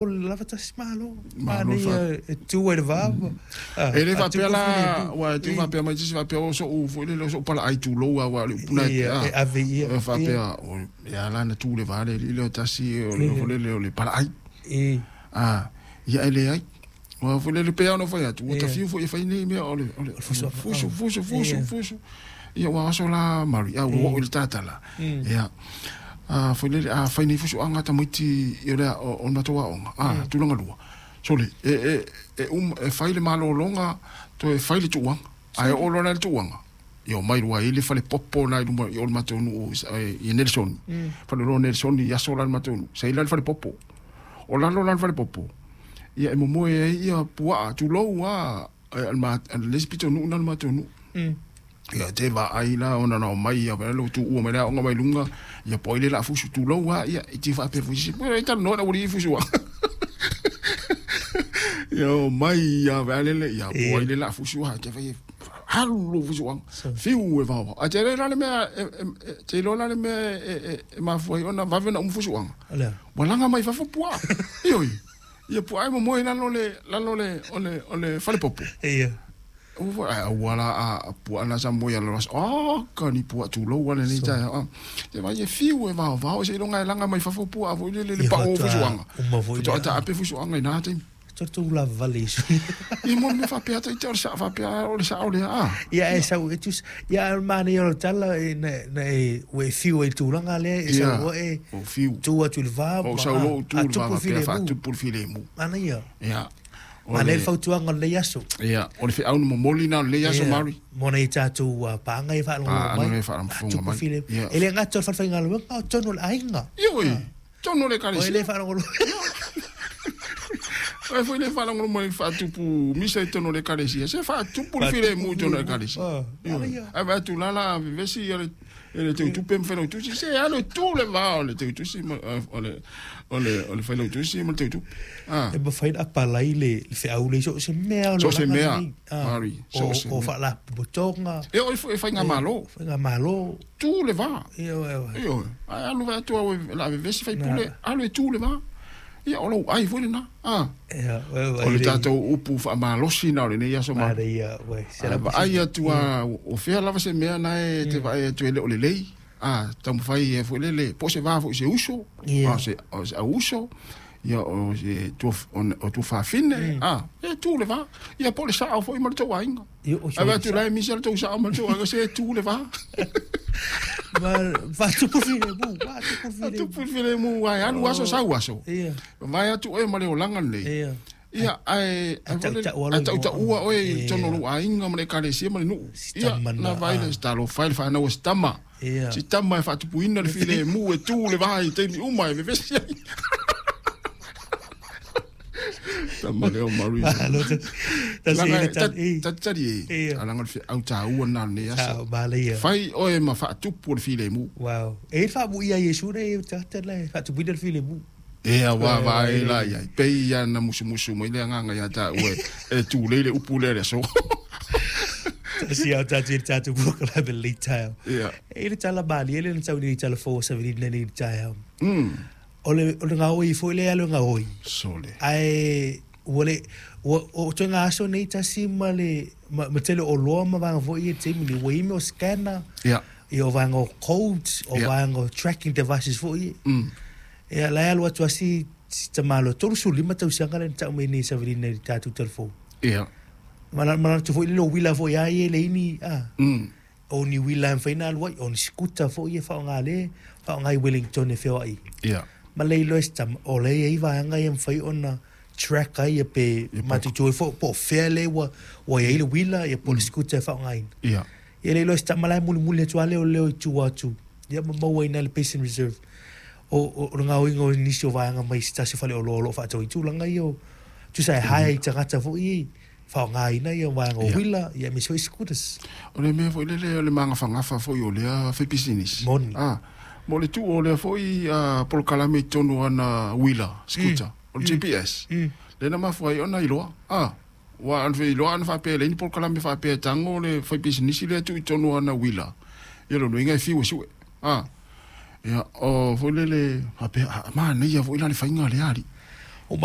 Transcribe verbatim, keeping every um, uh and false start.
Lava tasi malo. Manaia e tu ai le va. E le faapea la, ua e te faapea mai se faapea o so'u foi lele o so'u palaai tulou a ua o le upu na e E ave ia. E faapea e ala na tu le va le alii lea o tasi o le foi lele o le palaai. A ia e leai. Ua foi lele pei lava ona fai atu ua tafiu foi e fai nei mea o le o le fusu fusu fusu fusu. Ia ua aso la Mari a ua oo i le tatala. Ia a foi lele a fai nei fusuaga tamaiti i o le o le matou aoga a tulaga lua. Sole e e e um e fai le malologa toe fai le tuuaga. Ae oo loa la i le tuuaga ia omai loa i le falepopo na i luma i o le matou nuu i Nelson. Faleoloa o Nelson i aso la i le matou nuu. Sa i la le falepopo. O lalo la le falepopo ia e momoe ai ia puaa tulou a le isi pitonuu na le matou nuu. Ia te vaai la ona na omai ia le tuua mai le aoga mai luga ia po ai le la fusu tulou a ia i te faapea foi se pue talanoa na ua fusu a. Ia omai ia vale le ia po ai le la fusu a te fai alu lo fusu a. Fiu e vao. A te le la le mea te lo la le mea e mafua ai ona vave na umu fusu a. Ua laga mai fafo puaa. Ioi. Ia puaa e momoe lalo le lalo le o le o le falepopo. Ia. Ua ua la a puaa na sa moe ala oh ka ni puaa tulou ale nei taeao. Te vai e fiu e vaovao se iloga e laga mai fafo puaa foi lele le pao o fusuaga. Faatoa taape fusuaga i na taimi. Tatou lava vale iso. Ia mo le mea faapea ita o le saa faapea o le sao lea a. Ia e sau e tus ia o le manaia o le tala e na na e ua e fiu ai i le tulaga lea e sau oe o fiu. Tu atu i le va O sau lou tu i le va faapea faatupu le filemu. Manaia. Ia. Manaia le fautuaga o lenei aso. Ia, o le feau na momoli na o lenei aso Mari. Mo nai tatou paaga e faalogologo mai. Paga e faalogologo mai. E le gata o le falefaigaluega o tonu o le aiga. Ioe, tonu o le ekalesia. O e le faalogologo. O e foi le faalogologo mai faatupu misa i tonu o le ekalesia. Se faatupu le filemu i tonu o le ekalesia. Ae vaai atu la la vevesi ia le e le teutupe ma failautusi. Se alu e tu le va o le teutusi ma o le o le o le failautusi ma le teutupe. E mafai ona apalai le feau le so se mea o So se mea, Mari, so se mea. O faalapotopotoga. E o e faigamalo. Faigamalo. Tu le va. Ioe. Ioe. Ae alu vaai atu au e la vevesi faipule, alu e tu le va. Ia o lou ai foi lena. Ah. O le tatou upu faamalosi na o lenei aso ma. Vaai atu a o fea lava se mea na e te vaai atu e le o lelei. Ah, taumafai e foi lele po o se va foi se uso, o se o se auso, ia o se tua o tua fafine, ah, e tu le va. Ia po o le sao foi ma le tou aiga. Ae vaai atu la e misi le tou sao ma le tou aiga se e tu le va. Faatupu filemu, faatupu filemu. Faatupu filemu, ae alu aso sau aso. Vaai atu oe ma le olaga lenei. Ia, ae ae tautaua oe i totonu o lou aiga ma le ekalesia ma le nuu. Ia, na vaai le talofa e le fanau a si tama. Si tama e faatupuina le filemu e tu le va i taimi uma e vevesi ai. Tama lea o Mari. Talitali e, alaga o le feau taua lena o lenei aso. Fai oe ma faatupu o le filemu. Wow. E i ai le faamuia a Iesu nei o tagata la e faatupuina le filemu. Ea ua vaai la i ai. Pei ia na musumusu mai le agaga ia taua e tulei le upu lea i le aso. Tasi au tatou i le tatou polokalame i lenei taeao. Ia. E i ai le tala malie lea na tau nei i tala fou o Savelina nei i le taeao. O le o le gaoi foi lea alu e gaoi. Sole. Ae ua le ua o ituaiga aso nei tasi ma le ma, ma tele o oloa ma vaega foi ia i le taimi nei ua i ai mea o scanner. Ia. Ia o vaega o codes, o Ia. vaega o tracking devices foi ia. Mm. Ia la e alu atu lava si si tamaloa tolusefulu lima tausaga lea na tau mai nei e Savelina i le tatou telefoni. Ia. Manatu foi lele o uila foi lava ia e leai ni a. Mm. O ni uila e mafai ona alu ai, o ni sikuta foi e faaaoga lea, faaaoga i Wellington e feoai. Ia. Ma le iloa e si tama, o lea e i ai vaega ia e mafai ona track ai ia pe matutu ai foi po o fea lea ua ua i ai le uila ia po o le sikuta e faaaogaina. Ia. Ia le iloa e si tama la e mulimuli atu lava lea o leo i tua atu, ia ma maua ai i ina i le Basin Reserve. O, o, o le gaoiga o nisi o vaega mai se tasi o faleoloa o lo o faatau ai tulaga ia o tusa e hire i tagata foi ia i faaaogaina ia vaega o uila ia aemaise foi scooters. O le mea foi lele o le magafagafa foi o lea faipisinisi. Moni. A, mo le tuu o lea foi polokalame i totonu o ana uila, scooter, o le G P S, lea na mafua ai ona iloa. A, ua ana feiloa ana faapea e leai ni polokalame faapea e tago le faipisinisi lea e tuu i totonu o ana uila, ia lona uiga e fiu e sue. A, ia, o foi lele faapea, a manaia foi la le faiga a lea alii. O